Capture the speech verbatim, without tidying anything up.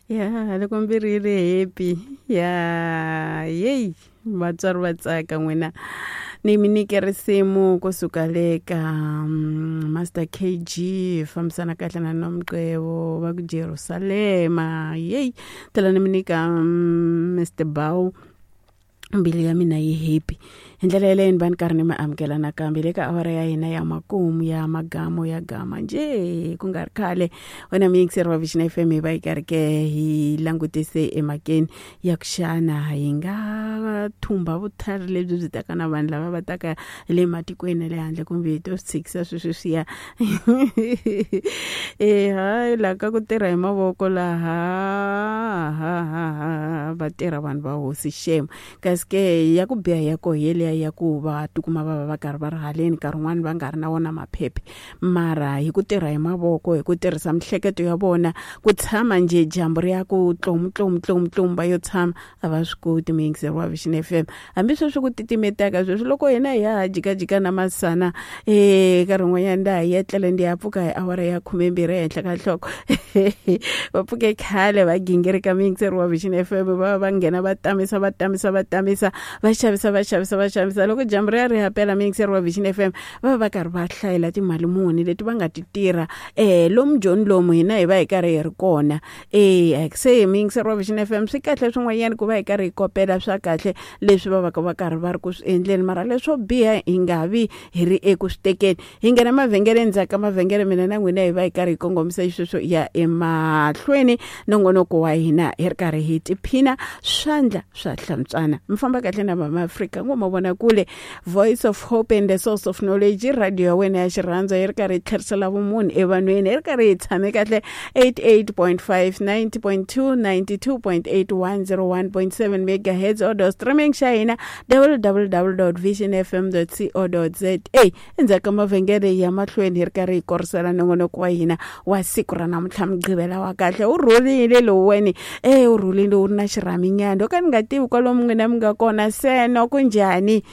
Ya loko mbilu yi ri happy ya yeyi vatswari va tsaka n'wina. Ni mi nyike risimu kusuka le ka mm, Master K G, fambisana kahle na Nomqevo va ku Jerusalema. Yeyi, tlhela ni mi nyika mm, Mister Bow, mbilu ya mina yi happy. Hi ndlela yeleyo ni va ni karhi ni mi amukela nakambe le ka awara ya hina ya makumu ya magamo ya gama njhe ku nga ri khale. Wena muyingiseri wa Vision F M, hi va hi karhi ke hi langutise emhakeni ya ku xana hi nga thumba vutlhari lebyi byi taka na vanhu lava va taka le matikweni ya le handle, kumbe hi to swi tshikisa sweswi swiya. E hayi, laha ka ku tirha hi mavoko laha ha ha ha va tirha vanhu va hosi xemo, kasi ke ya ku biha ya koho yeliya ya ku va tikuma va va va karhi va ri haleni, nkarhi wun'wani va nga ri na wona maphephe, mara hi ku tirha hi mavoko, hi ku tirhisa mihleketo ya vona, ku tshama njhe dyambu ri ya ku tlomu tlomu tlomu tlomu va yo tshama a va swi koti. Muyingiseri wa Vision F M, hambi sweswi ku titimetaka sweswi, loko hina hi ya ha jikajika na masana e nkarhi wun'wanyana nda ha yetlele, ndi ya pfuka hi awara ya khumembirhi ehenhla ka nhloko. Va pfuke khale va gingirika. Muyingiseri wa Vision F M, va va nghena va tamisa va tamisa va tamisa, va xavisa va xavisa va xavisa. Loko dyambu ri ya ri hapela, muyingiseri wa Vision F M, va va va karhi va hlayela timali muni leti va nga ti tirha um lomu joni lomu hina hi va hi karhi hi ri kona. E se muyingiseri wa Vision F M, swi kahle swin'wanyana ku va hi karhi hi kopela swa kahle leswi va va ka va karhi va ri ku swi endleni, mara leswo biha hi nga vi hi ri eku swi tekeni. Hi nghena mavhengeleni, ndzhaku ka mavhengele mina na n'wina hi va hi karhi hi kongomisa xisweswo ya emahlweni nongonoko wa hina, hi ri karhi hi tiphina swandla swa hlantswana. Mi famba kahle na Mama Afrika ngo mavona kule, Voice of Hope and the Source of Knowledge, radio ya wena ya xirhandza, yi ri karhi yi tlherisela vumunhu evanhwini. Hi ri karhi hi tshame kahle eighty-eight point five, ninety point two, ninety-two point eight, one oh one point seven megahertz, audio streaming xa hina W W W vision F M co za. Endzhaku ka mavhengele ya mahlweni hi ri karhi hi korisela nongonoko wa hina wa siku ra namuntlha, Mugqivela wa kahle. Wu rhulile lowuwani e wu rhulile, wu ri na xirhaminyana. O ka ni nga tivi kwalomu n'wina mi nga kona seno ku njhani.